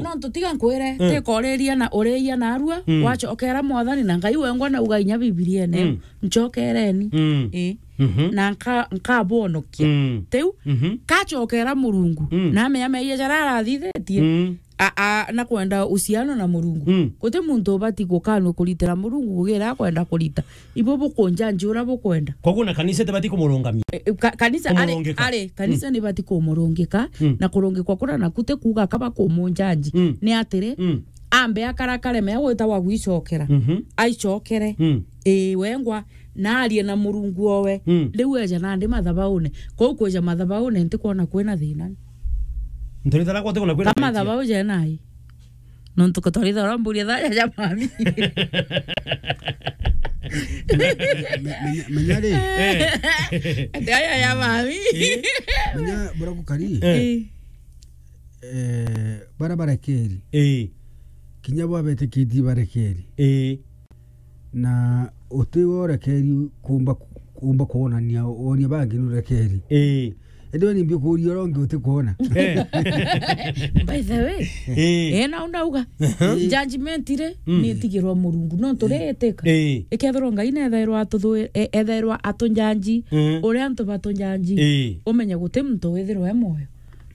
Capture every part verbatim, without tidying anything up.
Nontu tiga nkwire, mm, ti koriria na uriia narua, mm, wacokera Mwathani na Ngai wengwa nauga inya Bibiriene, mm, ncokereni. Mm. Ii. Mhm. Na nka-, nkabonokia. Mm. Tiu, mhm, kacokera Murungu, mm, na amenya meeyia jaria arathithitie, mm, a, a, na kwenda uciano na Murungu. Mm. Guti muntu ubati gukanua kuritira Murungu gugira akwenda kurita. Ibo bukunjanji uria bukwenda. Koguo na kanisa itibati kumurungamia? E, e, ka-, kanisa ari, kumurungika, ari, kanisa, mm, nibati kumurungika, mm, na kurungikwa kuria naku ti kuuga kaba kumunjanji. Mm. Ni atiri, mm, ambe akarakare mea gwita gwa gwicokera. Mhm. Aicokere. Mm. Ii, wengwa, na arie na Murungu owe. Mm. Riu eja nandi mathabaune. Kou kweja mathabaune ntikwona kwina thina. Nturitara gwa ti kwona kwina thina. Ka mathabau jena ai. Nontu ko twaritha uramburi thaja ja mami. Me-, menya, menya ri. Eh. Ati aja ja mami. Eh. Menya bura gukari. Eh. Eh. Eh, bara barekeri. Eh. Kinya bo abetikitie barekeri. Eh. Na uti we urekeri kumba, kumba kwonania, wonia bangi nurekeri. Eh. Indi we nimbi ukuria uria ungi utikwona? Eh. By the way, eh, eh, na ndauga, aha, judgment ri, mm, ni itigirwa Murungu. No turiitika. Eh. Ikethirwa Ngai nethairwa atuthu-, e-, ethairwa atunjanji, mm, uria antu batunjanji, eh, umenye guti muntu withirwa e mwoyo.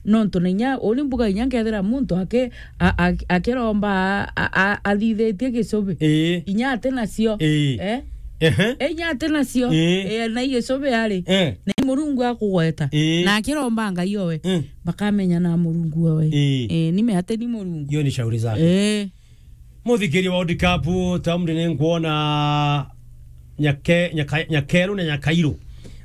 Nontu na inya, uni mbuga inya nkethira muntu aki-, a-, a-, akiromba a-, a-, a-, athithitie gicubi. Ii. Inya ati nacio. Ii. Eh? Ehe. E, inya ati nacio. Ii. E, na i gicubi ari. Eh. Na i Murungu akugweta. Ii. Na akiromba Ngai owe. Mm. Bakamenya na Murungu owe. Ii. E, ni me ati ni Murungu. Hiyo ni shauri zake. Eh. Muthikiria wa World Cup, Tamundi ni nkuona Nyake-, Nyaka-, Nyakeru na Nyakairu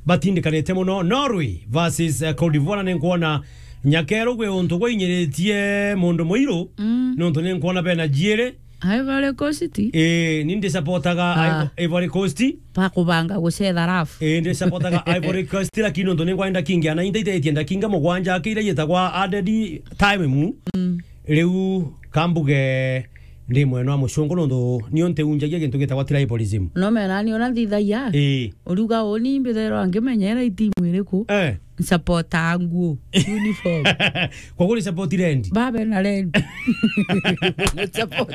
batindikanite muno. Norway versus, eh, Cote d'Ivoire, ni nkuona Nyakeru gwi untu gwainyiritie mundu muiru, mm, nontu ni nkuona bena jiiri. Ivory Coast? Ii, ni ndi supportaga, ah, Ivo-, Ivory Coast. Bakubanga gucetha rafu. Ii, ndi supportaga Ivory Coast, lakini nontu ni nkwenda kingia na intaitetie ndakinga mugwanja akiira yetagwa added time mu. Mm. Riu kambuge ndi mwena wa mucungu nontu nio ntiunjagia gintu gitagwa tribalism. No mena ni ona nthithagia. Ii. Uriuga uni mbithairwa ngimenyera itimu iriku? Eh. Nsupporta nguo, uniform. Koguo ni support Red? Babe na Red. Support.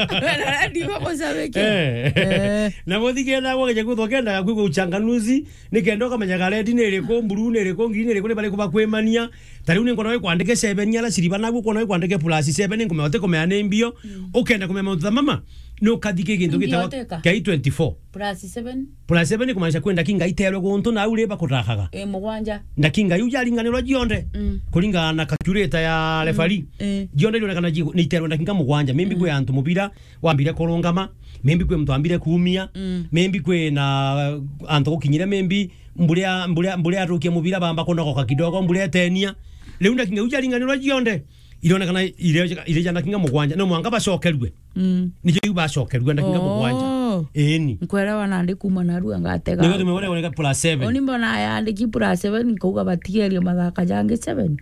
Babe na Red bakucabikia. Eh. Eh. Na muthikenda gwageja kwithwa kendaga kwigua uchanganuzi, nikenda ukamenya ga red ni iriku, blue ni iriku, green ni iriku, ni bariku bakwimania. Ta riu ni nkwona wikwandike seven, ala siriba naguo kwona wikwandike plus seven, ni nkumenya utikumenya ni mbio. Mm. Ukenda kumenya mauntu ta mama, ni ukathike gintu gitagwa K twenty-four. Plus seven? Plus seven ni kumaanisha kwi ndakinga iterwe guntu na au riba kutakaga. E, mugwanja. Ndakinga iu jaringanirwa jionthe. Mm. Kuringana na calculator ya referee. Mm. E. Jionthe irionekana ji-, ni iterwe ndakinga mugwanja. Maybe, mm, kwi antu mubira wambire kurungama, maybe kwi muntu wambire kuumia, mm, maybe kwi na, uh, antu gukinyire, maybe mburia, mburia, mburia atukia mubira bamba kunogoka kidogo, mburia etenia. Riu ndakinga iu jaringanirwa jionthe, ironekana ire, ire ja ndakinga mugwanja, no mwanka bacokerue. Mm. Nijo iu bacokerue ndakinga mugwanja. Oh. Eni. Nkwerewa nandi kuma narua ngatega. Nigo tumewona woneka plus seven. Oni mbona yandiki plus seven, nkauga batigerie mathaka jangi seven.